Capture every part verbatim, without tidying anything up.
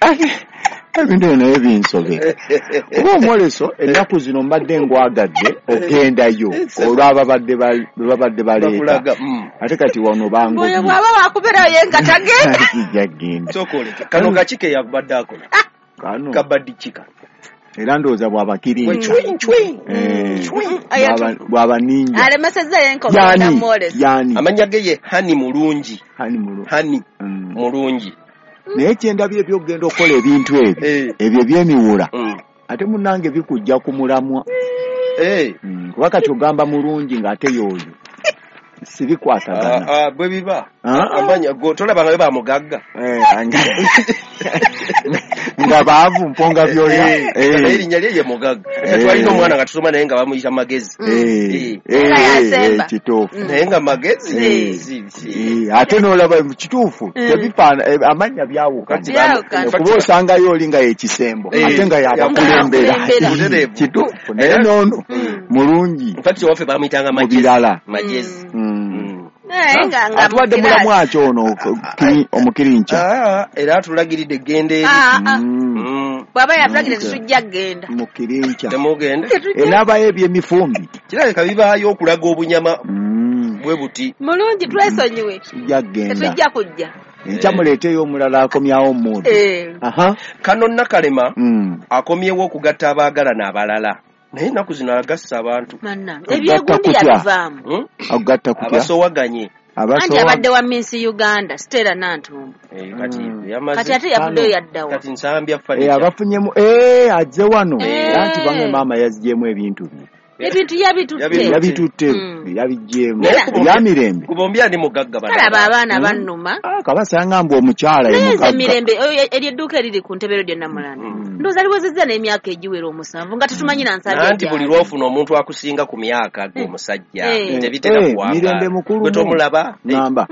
Ebintu ebyo naye binsobera. Kuba omwoleso ennaku zino mbadde ngwagadde ogendayo olw'ababadde babadde baleeta. Ate kati wano bango. Oyo bw'aba wakubeerayo ye nga tagenda. Sijja kugenda. Sooka kano kaki ke yabadde akola? Kano. Kabaddi kika. Era ndowooza bw'abakirinca. Bw'aba ninja. Alemesezza ye nkogenda mwolesa. Yani. Amannya ge ye Hani Mulungi. Hani Mulungi. Hani Mulungi. Naye kyendabye eby'okugenda okukola ebintu ebyo ebyo eby'emiwula ate munnange bikujja ku mulamwa. Kuba kati ogamba mulungi ng'ate y'oyo sibikwatagana. Bwe biba amanya tolaba nga bamugagga nga baavu mponga byoya. Erinnya lye ye mugagga. Twalina omwana nga tusoma naye nga bamuyita Magezi. Kituufu. Naye nga Magezi ate n'olaba kituufu tebifaana amannya byawukana. Kuba osangayo oli nga yekisembo ate nga yabakulembera. Kituufu naye n'ono mulungi. Nfati owaffe bamuyitanga Magezi. Magezi. Atuwadde mulamu akyo ono omukirinca. Era atulagiridde genda eri. Bw'aba yatulagiridde tetujja kugenda. Mukirinca. Temugenda. Enabayo ebyemifumbi. Kirabika bibaayo okulaga obunyama bwe buti. Mulungi twesonyiwe. Tujja kugenda. Tetujja kujja. Enkya muleeteyo omulala akomyawo omuntu. Kano Nakalema akomyewo okugatta abaagalana abalala. Naye ennaku zino agassa abantu. Ebyegundi yabivaamu. Okugatta kutya? Abasowaganye. Anti abadde wa Miss Uganda Stella Nantumba. Kati ate yavuddeyo yaddawa. Kati Nsambya furniture. Abafunyemu eh azze wano. Anti bange maama yaziggyemu ebintu bye. Ebintu yabitutte. Yabitutte yabiggyemu. Ya Mirembe. Ku bombi ani mugagga bano. Kalaba abaana bannuma. Ah kabasanga mbu omukyala ye mugagga. Naye Mirembe eryo edduuka eriri ku ntebe lyo Namulanda. Ndowooza liwezezza n'emyaka egiwera omusanvu nga tetumanyi na Nsambya. Anti buli lw'ofuna omuntu akusinga ku myaka g'omusajja tebitera kuwanga. Mirembe mukulu. Gwe tomulaba. Namba.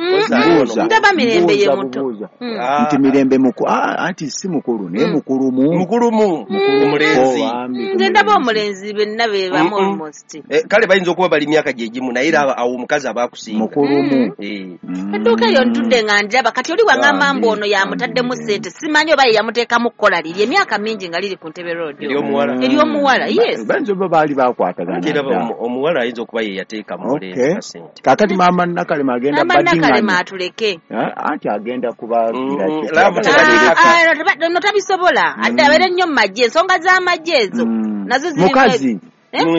Ndaba Mirembe ye muto. Nti Mirembe mukulu. Anti si mukulu naye mukulu mu. Mukulu mu. Omulenzi. Nze ndaba omulenzi benna be bamu. Kale bayinza okuba bali myaka gye gimu naye era awo omukazi aba akusinga. Mukulumu. Edduuka eyo ntudde nga njaba kati oli wangamba mbu ono yamutaddemu ssente simanyi oba ye yamuteekamu kukola liri emyaka mingi nga liri ku Ntebe Road. Ery'omuwala. Ery'omuwala, yes. Bayinza oba baali bakwatagana. Era omuwala ayinza okuba ye yateeka mu mulenzi kasente. Kaakati maama Nakalema agenda Maama Nakalema atuleke. Anti agenda kubagira. No tabisobola. Adde abeere nnyo mu magye ensonga z'amagye ezo nazo ziri mukazi.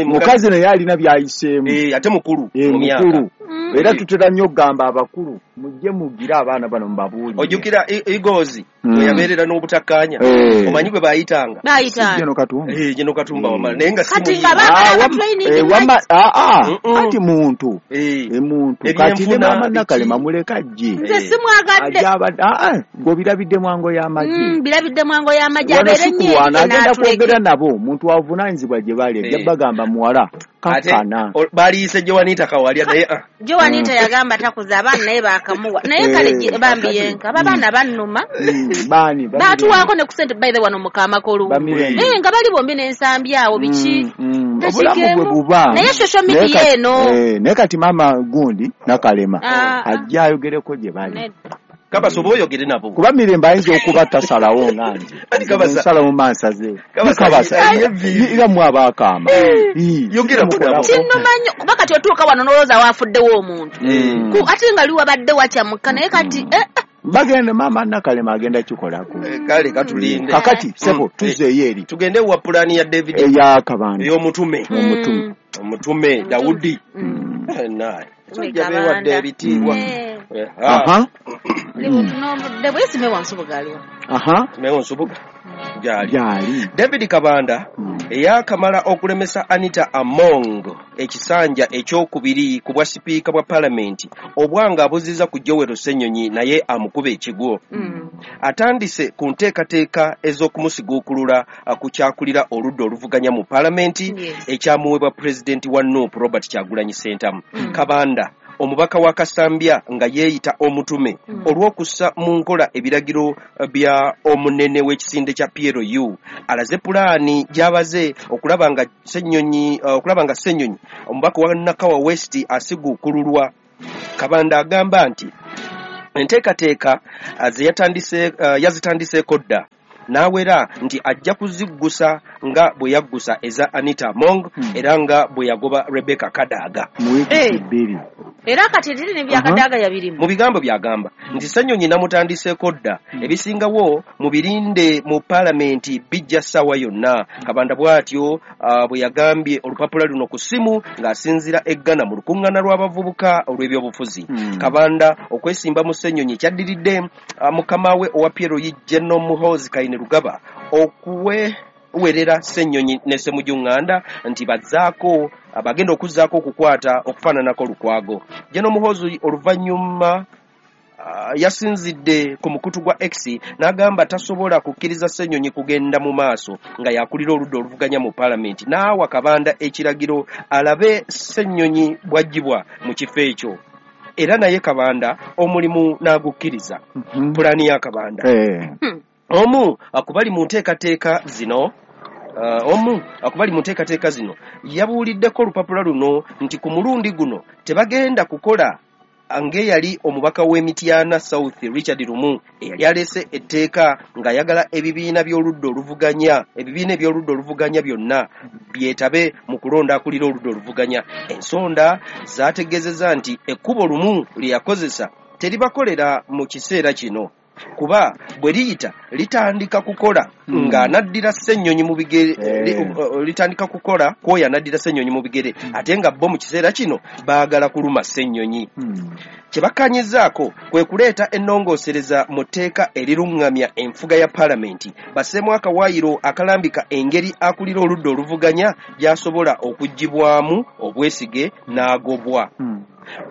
Mukazi naye alina by'ayiseemu. Ate mukulu mu myaka. Era tutera nnyo okugamba abakulu mujje mugire abaana bano mubabuulire. Ojjukira Igozi bwe yabeerera n'obutakkaanya omanyi gwe baayitanga. Baayitanga. Jeno Katumba. Eh Jeno Katumba wamala naye nga si Kati nga baagala training. Wama anti muntu. Muntu kati ne maama Nakalema muleka ajje. Nze simwagadde. Gwe mwango y'amagye. Birabidde mwango y'amagye abeere nnyo. Agenda kwogera nabo muntu avunaanyizibwa gye bali ajja bagamba muwala. Kakkana. Baliise Joanita Kawalya naye. Joanita yagamba takuza abaana naye baakamuwa. Naye kale bambi yenka abaana bannuma. Baani baatuwaako ne ku ssente by the wano mu Kamakolu. Eh nga bali bombi n'ensambi awo biki. Obulamu bwe buba. Naye social media eno. Naye kati maama gundi Nakalema ajja ayogereko gye bali. Kabasa oba oyogere nabo. Kuba Mirembe ayinza okuba tasalawo nga nze. Nsalawo mansaze. Kabasa era mwe abaakaama. Yogera nabo. Kinnuma nnyo kuba kati otuuka wano n'olowooza waafuddewo omuntu. Ate nga li wabadde wakyamuka naye kati bagenda maama Nakalema agenda kikolako. Kale katulinde. Kakati sebo tuzeeyo eri. Tugende wa pulaani ya David eya Kabanda. Ey'omutume. Omutume. Omutume Dawudi. Naye. Sajja beewadde ebitiibwa. Aha. Aha. Gyali. David Kabanda eyakamala okulemesa Anita Among ekisanja ekyokubiri ku bwa sipiika bwa palamenti obwanga abuziza ku Joel Ssenyonyi naye amukuba ekigwo. Atandise ku nteekateeka ez'okumusiguukulula ku kyakulira oludda oluvuganya mu palamenti ekyamuweebwa pulezidenti wa N U P Robert Kyagulanyi Ssentamu. Kabanda omubaka wa Kasambya nga yeeyita omutume mm. olw'okussa mu nkola ebiragiro bya omunene w'ekisinde kya P L U alaze pulaani gy'abaze okulaba nga Ssenyonyi okulaba nga Ssenyonyi omubaka wa Nakawa West asiguukululwa. Kabanda agamba nti enteekateeka ze yatandise uh, yazitandiseeko dda N'awera nti ajja kuziggusa nga bwe yaggusa eza Anita Among Mm. era nga bwe yagoba Rebecca Kadaga. Mu wiiki Eh. bbiri. Era kati eriri ne bya Kadaga yabirimu. Mu bigambo byagamba nti Ssenyonyi namutandiseeko dda, ebisingawo mubirinde mu paalamenti bijja ssaawa yonna. Kabanda bw'atyo ah, bwe yagambye olupapula luno ku ssimu ng'asinziira e Ghana mu lukuŋŋaana lw'abavubuka olw'ebyobufuzi. Mm. Kabanda okwesimba mu Ssenyonyi kyaddiridde ah, mukama we owa P L U General Muhoozi Kainerugaba okuwewerera Ssenyonyi ne Ssemujju Nganda nti bazzaako abagenda okuzzaako okukwata okufaananako Lukwago. General Muhoozi oluvannyuma ah, yasinzidde ku mukutu gwa X n'agamba tasobola kukkiriza Ssenyonyi kugenda mu maaso nga yakulira oludda oluvuganya mu paalamenti, n'awa Kabanda ekiragiro alabe Ssenyonyi bw'aggyibwa mu kifo ekyo, era naye Kabanda omulimu n'agukkiriza. Mhm. Pulaani ya Kabanda. Eh. Hmm. Omu akubali mu nteekateeka zino Uh, omu akubali mu nteekateeka zino yabuuliddeko olupapula luno nti ku mulundi guno tebagenda kukola ng'eyali omubaka w'e Mityana South Richard Lumu eyali aleese etteeka ng'ayagala ebibiina by'oludda oluvuganya ebibiina eby'oludda oluvuganya byonna byetabe mu kulonda akulira oludda oluvuganya. Ensonda zaategeezezza nti ekkubo Lumu lye yakozesa teribakolera mu kiseera kino, kuba bwe liyita litandika kukola Mm. ng'anaddira Ssenyonyi mu bigere Eh. li, uh, litandika kukola kwoyo anaddira Ssenyonyi mu bigere, ate nga bo mu kiseera kino baagala kuluma Ssenyonyi. Mm. Kye bakkanyizaako kwe kuleeta ennongoosereza mu tteeka eriruŋŋamya enfuga ya paalamenti, basseemu akawaayiro akalambika engeri akulira oludda oluvuganya gy'asobola okuggyibwamu obwesige n'agobwa. Mm.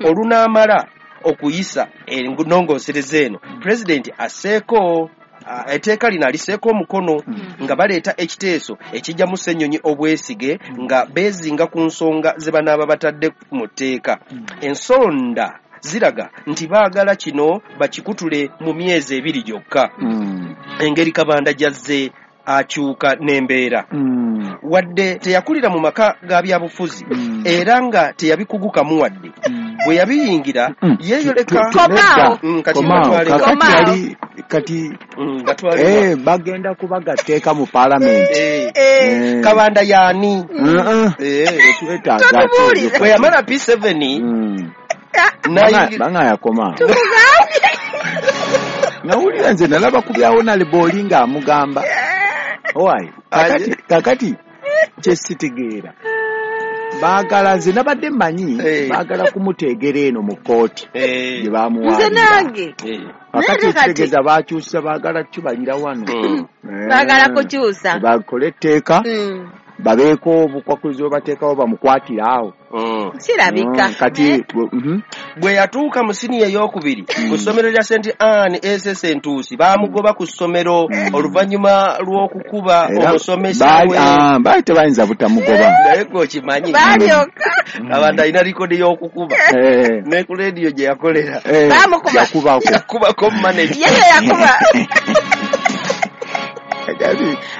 Olunaamala okuyisa ennongoosereza eno, pulezidenti asseeko ah, etteeka lino aliseeko omukono nga baleeta ekiteeso ekijjamu Ssenyonyi obwesige nga beezinga ku nsonga ze banaaba batadde mu tteeka. Ensonda ziraga nti baagala kino bakikutule mu myezi ebiri gyokka. Mm. Engeri Kabanda gy'azze akyuka n'embeera, Mm. wadde teyakulira mu maka ga byabufuzi Mm. era nga teyabikugukamu wadde, Mm. bwe yabiyingira Mm. yeeyoleka. Komaawo. Mm, kati Komaawo. batwale- Kakati Komaawo. yali kati Mm, batwale- eh bagenda kubaga tteeka mu paalamenti. Eh, Eh. Eh. Kabanda yaani? Mm-mm. Eh, Tetwetaaga Totubuulire. ate bwe yamala P seven Mm. n'ayingira- Banga yakoma. Nawulira nze nalaba ku bya Honorable ng'amugamba. Owaaye, kakati kakati kye sitegeera. Baagala nze nabadde mmanyi Eh. baagala kumuteegera eno mu kkooti Eh, gye Nze bamuwaabira. nange eh, Kakati Naye kati- ekitegeeza baakyusa baagala kibalira wano. Mm. Eh. Baagala kukyusa. Bakole etteeka Mm. babeeko obukwakulizo bwe bateekawo bamukwatire awo. Mm. Kirabika. Mm, kati mhm. Bwe yatuuka mu siniya ey'okubiri ku ssomero lya Saint Anne S S Ntuusi, baamugoba ku ssomero oluvannyuma lw'okukuba Era omusomesa baali we. ah, baali tebayinza butamugoba. Naye gwe okimanyi Balyoka. Kabanda alina likodi y'okukuba Eh, ne ku leediyo gye yakolera eh, Baamukuba. yakubako. yakubako manager. Ye yakuba.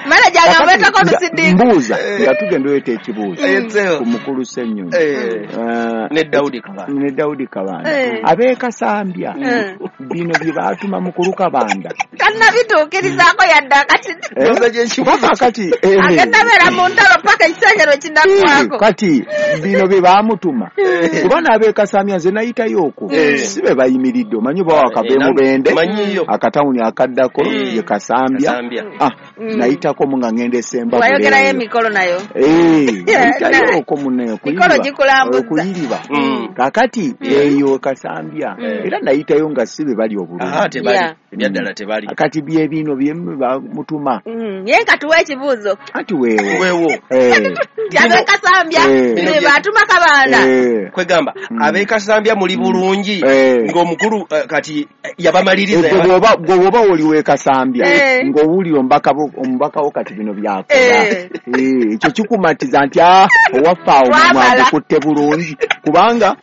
Manager agamba Kakati, olusidinga. mbuuza nga tugenda oleeta ekibuuzo Eh, ku mukulu Ssenyonyi Eh, Eh, ne Daudi Kabanda. ne Daudi Kabanda Eh. ab'e Kasambya Eh. bino bye baatuma mukulu Kabanda Tannabituukirizaako yadde akati. Eh? Mbuuza gy'ekibuuzo. Kuba kakati eh, Agenda beera mu ntalo paka ekisenge lwe eh, kinaggwako. kati bino bye baamutuma Eh. kuba n'ab'e Kasambya nze nayitayo okwo Eh. si be bayimiridde omanyi oba wakava Eh, Mubende manyiyo. akatawuni akaddako Mm. ye Kasambya. Kasambya. Ah, Mm. nayitako mu nga ngenda esemba Wayogerayo emikolo nayo. Eh, nayitayo okwo munne Mikolo gikulambuzza. okuyiriba Mm. kakati eyo Kasambya Mm. era nayitayo nga si be bali obulungi. Aha, tebali. Yeah. Ebyaddala tebali. Kati bye bino bye bamutuma Mm. Ye nga tuwa ekibuuzo. anti weewo Weewo. Eh, Nti ab'e Kasambya Eh. be baatuma Kabanda. eh. Kwegamba Mm. ab'e Kasambya muli bulungi Eh. ng'omukulu eh, kati eh, yabamaliriza. Gwe bw'oba gwe bw'oba oli w'e Kasambya Eh. ng'owulira omubaka bo- omubaka wo kati bino byakola Eh. Eh, ekyo kikumatiza nti ah owaffe awo Twamala. mwagukutte bulungi kubanga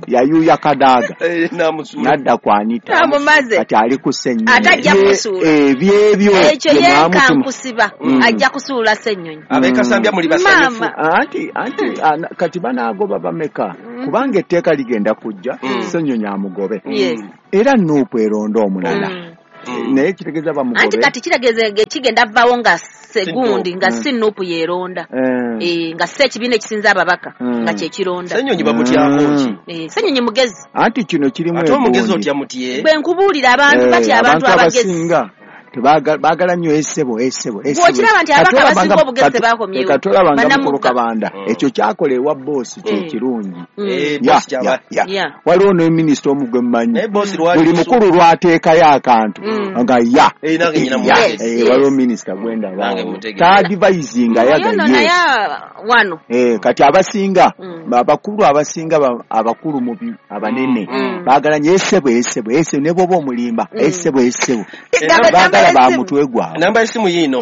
yayuya Kadaaga Eh, n'amusuula. n'adda ku Anita Amumaze. kati ali ku Ssenyonyi. Ate ajja Bye- kumusuula. eh, byebyo Ekyo bye ye mwamutuma. nkankusiba Mm. ajja kusuula Ssenyonyi. Ab'e Kasambya muli basanyufu. Maama. Anti anti ana- kati banaagoba bameka kubanga etteeka ligenda kujja Mm. Ssenyonyi amugobe Yes. era Nuupu eronda omulala. Mm. Naye kitegeeza bamugobe. Anti kati kitegeeza kigenda vaawo nga segundi nga si Nuupu yeeronda. Eh, nga si ekibiina ekisinza ababaka nga kye kironda. Ssenyonyi bamutyako ki? Eh, Ssenyonyi mugezi. Anti kino kirimu ate omugezi otya mutye? Bwe nkubuulira abantu batya abantu abagezi. Baagala nnyo essebo essebo essebo. Bw'okiraba nti ababaka abasinga obugezi tebakomyewo. Katolabanga mukulu Kabanda ekyo kyakola ewa boosi kye kirungi. Waliwo ne minisita omu gwe mmanyi buli mukulu lw'ateekayo akantu nga ya waliwo minisita gwendaba taadivayizinga yaga ye. Kati abasinga abakulu abasinga abakulu mu abanene baagala nnyo essebo essebo essebo ne bw'oba omulimba essebo essebo. Ba mutwe gwawe. Namba y'essimu yiino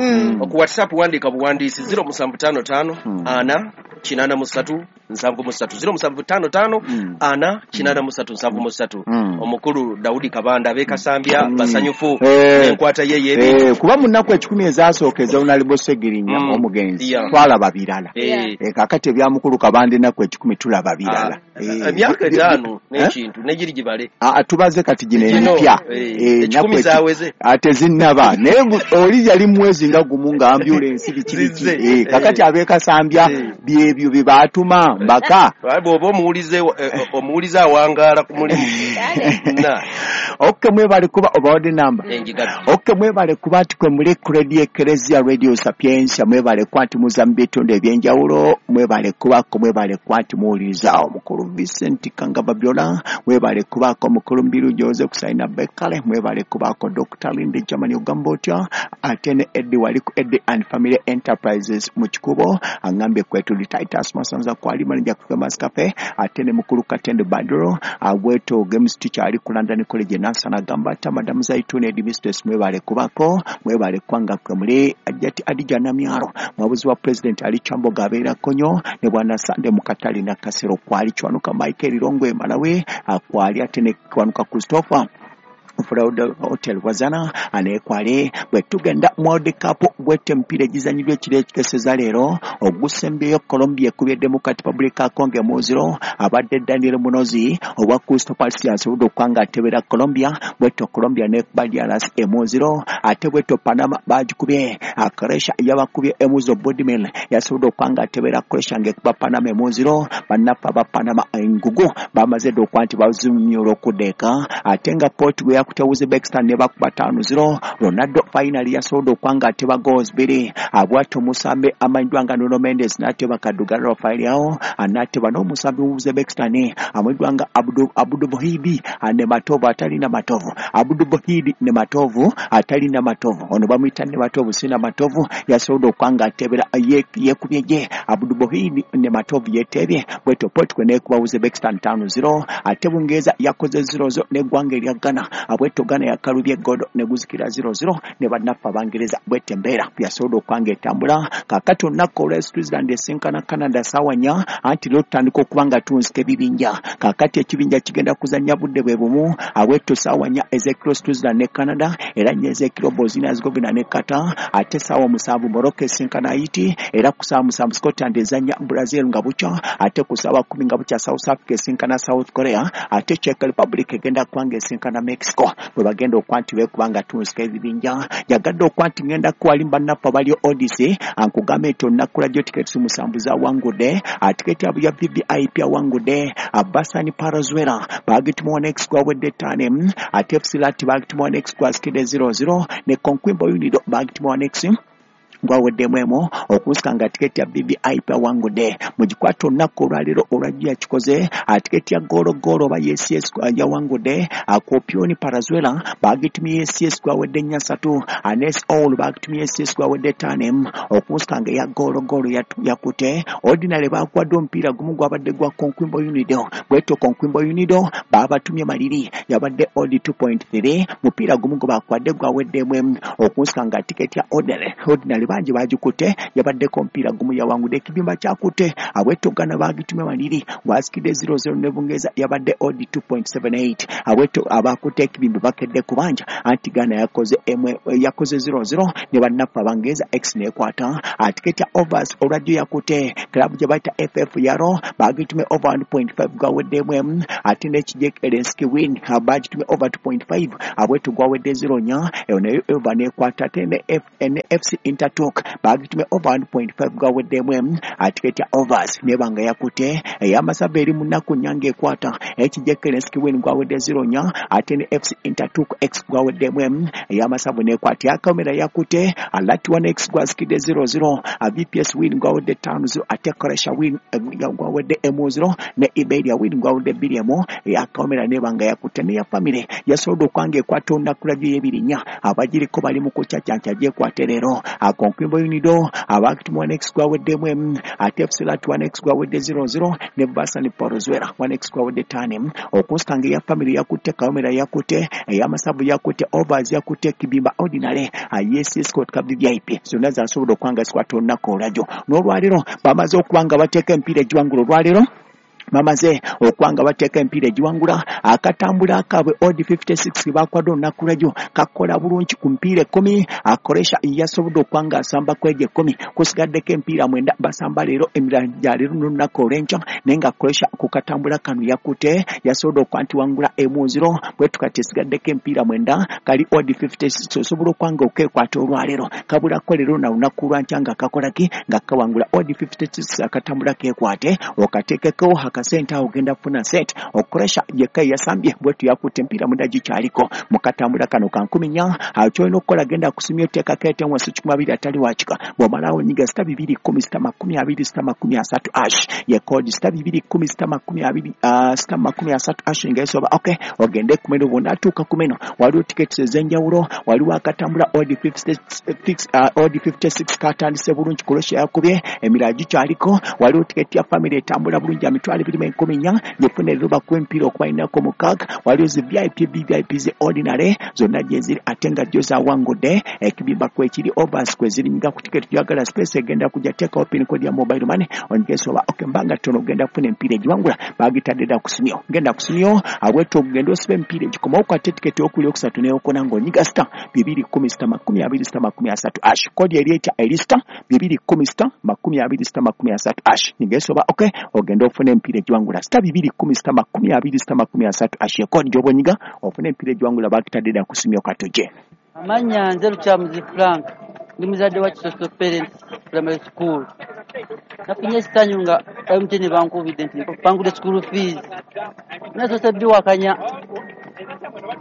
ku WhatsApp wandiika buwandiisi zero musanvu ttaano ttaano ana kinaana mu ssatu nsanvu mu ssatu zero musanvu ttaano ttaano ana kinaana mu ssatu nsanvu mu ssatu. Omukulu Daudi Kabanda ab'e Kasambya basanyufu n'enkwata ye y'ebintu. Kuba mu nnaku ekikumi ezasooka eza Honorable Ssegirinya omugenzi twalaba birala. Kaakati ebya mukulu Kabanda ennaku ekikumi tulaba birala. Emyaka etaano n'ekintu negiri gibale. Tubaze kati gino emipya. Ekikumi zaaweze. Ate zinnaba naye oli yali mwezi nga gumu nga ambulensi biki biki. Kaakati ab'e Kasambya byebyo bye baatuma mbaka. Bw'oba omuwulize omuwulize awangaala ku mulimu. Okay, mwebale kuba obawadde namba. Okay, mwebale kuba nti kwe muli ku Radio Ecclesia Radio Sapientia, mwebale kuba nti muza mu bitundu eby'enjawulo, mwebale kubaako, mwebale kuba nti muwuliriza omukulu Vincent Kangaba Byola, mwebale kubaako omukulu Mbiru Jose Kusaina Bekale, mwebale kubaako Doctor Linde Germany ogamba otya, ate ne Eddie wali ku Eddie and Family Enterprises mu Kikubo, angambye kwetuli Titus Masanza kwali manager ku Famous Cafe, ate ne mukulu Katende Badro, abweto games teacher ali ku London College Nansana Gambata, Madam Zaituni Headmistress mwebale kubako, mwebale kwanga kwe muli Ajati Adija Namyaro, mwabuzi wa President Ali Chambo Gabeera Konyo, ne Bwana Sande Mukatali na Kasero kwali Chwanuka Michael Rongwe Malawi, kwali ate ne Kwanuka Christopher Fraud Hotel Wazana anekwale bwe tugenda mu World Cup gwete emipiira egizanyibwa ekiro ekikeseza leero ogusembyeyo Colombia ekubye Democratic Republic ya Congo mu zero abadde Daniel Munozi owa Crystal Palace asobodde okuba nga atebera Colombia bwetyo Colombia nekuba D R C emu zero ate bwetyo Panama bagikubye Croatia yabakubye emu zero Budimir yasobodde okuba nga atebera Croatia ng'ekuba Panama emu zero bannaffe aba Panama engugu bamaze dda okuba nti bazimyula okuddeeka ate nga Portugal yakutte Uzbekistan ne bakuba ttaano zero Ronaldo finally yasobodde okuba nga ateba goals bbiri abwatyo omusambi amanyiddwa nga Nuno Mendes n'ateba Kadugala Rafael Leao n'ateba n'omusambi mu Uzbekistan amanyiddwa nga Abdu Abdu Bohidi ne Matovu atalina Matovu Abdu Bohidi ne Matovu atalina Matovu ono bamuyita ne Matovu sina Matovu yasobodde okuba nga atebera yekubye gye Abdu Bohidi ne Matovu yetebye bwetyo Portugal n'ekuba Uzbekistan ttaano zero ate Bungereza yakoze zero zero n'eggwanga erya Ghana abwetyo Ghana yakalubye godo ne guzikira zero zero ne bannaffe Abangereza bwetyo embeera yasobodde okuba nga etambula. Kaakati olunaku olwa Switzerland esinkana Canada ssaawa nnya anti leero tutandika okuba nga tunzika ebibinja. Kaakati ekibinja kigenda kuzannya budde bwe bumu abwetyo ssaawa nnya ez'ekiro Switzerland ne Canada era nnya ez'ekiro Bosnia Herzegovina ne Qatar ate ssaawa musanvu Morocco esinkana Haiti era ku ssaawa musanvu Scotland ezannya Brazil nga bukya ate ku ssaawa kkumi nga bukya South Africa esinkana South Korea ate Czech Republic egenda kuba nga esinkana Mexico bwe bagenda okuba nti beekuba nga tunzika ebibinja. Njagadde okuba nti ngenda kuwali bannaffe abali Odyssey ankugambe nti olunaku lwajjo tiketi musanvu zawangudde tiketi ya V V I P awangudde Abasani Parazuela bagituma one x gwawedde ttaano ate F C Lati bagituma one x gwasikidde zero zero ne Conquimbo Unido bagituma one x gwaweddemu emu okusika nga tiketi ya V V I P awangudde mugikwata olunaku olwaleero olwajjo yakikoze tiketi ya goolo goolo oba Y C S yawangudde Kopioni Parazuela bagitumye Y C S gwawedde nnya ssatu Anes All bagitumye Y C S gwawedde ttaano emu okusika nga eya goolo goolo yakute Ordinary baakwadde omupiira gumu gwabadde gwa Conquimbo Unido bwetyo Conquimbo Unido baabatumye maliri yabadde odi two point three mupiira gumu gwe baakwadde gwaweddemu emu okusika nga tiketi ya Ordinary Ordinary Bangi bagikutte, yabaddeko omupiira gumu yawangudde. Ekibimba kyakutte abwetogana bagitumye waniri gwasikidde zero zero ne Bungereza, yabadde odd two point seven eight. Abweto abakutte ekibimba bakedde kubanja anti Ghana yakoze emwe yakoze zero zero ne bannaffe Abangereza X nekwata. Atiketi ya overs olwajjo yakutte club gye bayita F F Yaro bagitumye over one point five gwaweddemu emu, ate n'ekijek Elenski win bagitumye over two point five abweto gwawedde zero nnya, eyo nayo over nekwata. Ate ne F C Intertok bagitumye over one point five gwaweddemu emu, atiketi ya overs nebanga yakutte ey'amasaba eri mu nnaku nnya ng'ekwata ekijek Elenski win gwawedde zero nnya, ate ne F C Intertok X gwaweddemu emu, ey'amasavu nekwata. Yakamera yakutte alati one X gwasikidde zero zero, V P S win gwawedde ttaano zero, ate Koresha win gwawedde emu zero, ne Iberia win gwawedde bbiri emu. Yakamera nebanga yakutte. Ne ya famire yasobodde okwanga ekwata olunaku lwa ebiri nnya, abagiriko bali mu kucacanca gyekwate leero. Akonkwimbo Unido abakitumwa one X gwaweddemu emu, ate F C Lat one X gwawedde zero zero, ne Basani Porozwera one X gwawedde ttaano emu. Okunsanga eya famire yakutte, Kawomera yakutte, ey'amasavu yakutte, overs yakutte, Kibimba ordinary, Yes Scott Cup V I P zonna zasobodde okwanga zikwata olunaku olwajjo. N'olwaleero bamaze okuba nga bateeka emipiira egiwangula olwaleero, bamaze okwanga bateeka emipiira egiwangula. Akatambula akaabwe odd fifty-six bakwadde olunaku lwajjo kakola bulungi ku mipiira ekkumi. Akoresha yasobodde okwanga asamba ku egyo ekkumi, kusigaddeko emipiira mwenda basamba leero emirala gya leero n'olunaku olw'enkya, naye nga Akoresha ku katambula kano yakutte yasobodde okuba nti wangula emu zero, bwe tukati esigaddeko emipiira mwenda kali odd fifty-six osobola okwanga okeekwata olwaleero. Kabulako leero na lunaku lwankya nga kakola ki nga kawangula odd fifty-six akatambula keekwate okateekeko akasente awo ogenda kufuna sente. Okoresha yekka yasambye bwetu yakutte emipiira mwenda gikyaliko mu katambula kano ka nkumi nnya. Awo ky'olina okukola genda kusimya oteekako ete wansi kikumi abiri atali wakika, bw'omalawo nyiga sita bibiri kkumi sita makumi abiri sita makumi asatu ash ye kodi sita bibiri kkumi sita makumi abiri sita makumi asatu ash nga esoba okay ogende ku meno. Bw'onaatuuka ku meno waliwo tiketi ez'enjawulo, waliwo akatambula odd fifty-six odd fifty-six katandise bulungi Croatia yakubye emirala gikyaliko. Waliwo tiketi ya famire etambula bulungi ya mitwalo ebiri mu enkumi nnya gifuna leero bakuwa emipiira okubalinako mukaaga. Waliwo zi V I P V I P zi ordinary zonna gye ziri ate nga gyo zawangudde. Ekibimba kwekiri overs kwe ziri nyiga ku tiketi gy'oyagala, space egenda kujja teekawo pin code ya mobile money onyigesa okay mbanga ttono ogenda kufuna emipiira egiwangula bagitadde dda ku simyo. Genda ku simyo abwetu ogenda osiba emipiira egikomawo okwate tiketi ey'okubiri okusatu n'eyokuna ng'onyiga sita bibiri kkumi sita makumi abiri sita makumi asatu ash kodi eri etya eri sita bibiri kkumi sita makumi abiri sita makumi asatu ash nyigesa oba okay ogenda ofuna emipiira egiwangula sita bibiri kkumi sita makumi abiri sita makumi asatu ash ekodi gy'oba onyiga ofuna emipiira egiwangula bagitadde dda ku simyo katoje. Amannya nze Lukyamuzi Frank, ndi muzadde wa Kisoso Parents Primary School. Nafunye essanyu nga M T N bankubidde nti bangudde school fees. Nasoose biwakanya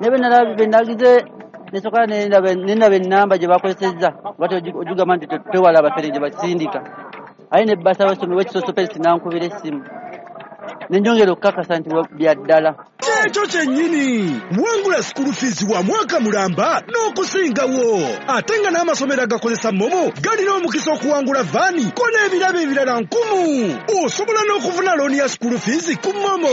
naye bwe nagize nesooka nendaba ennamba gye bakozesezza lwaki ogigamba nti twewala abafere gye basindika, aye ne bbasa w'essomero w'Ekisoso Parents n'ankubira essimu ne njongera okukakasa nti bya ddala. Ekyo kyennyini wangula school fees wa mwaka mulamba n'okusingawo, ate nga n'amasomero agakozesa MoMo galina omukisa okuwangula vaani ko n'ebirabo ebirala nkumu. Osobola n'okufuna looni ya school fees ku MoMo.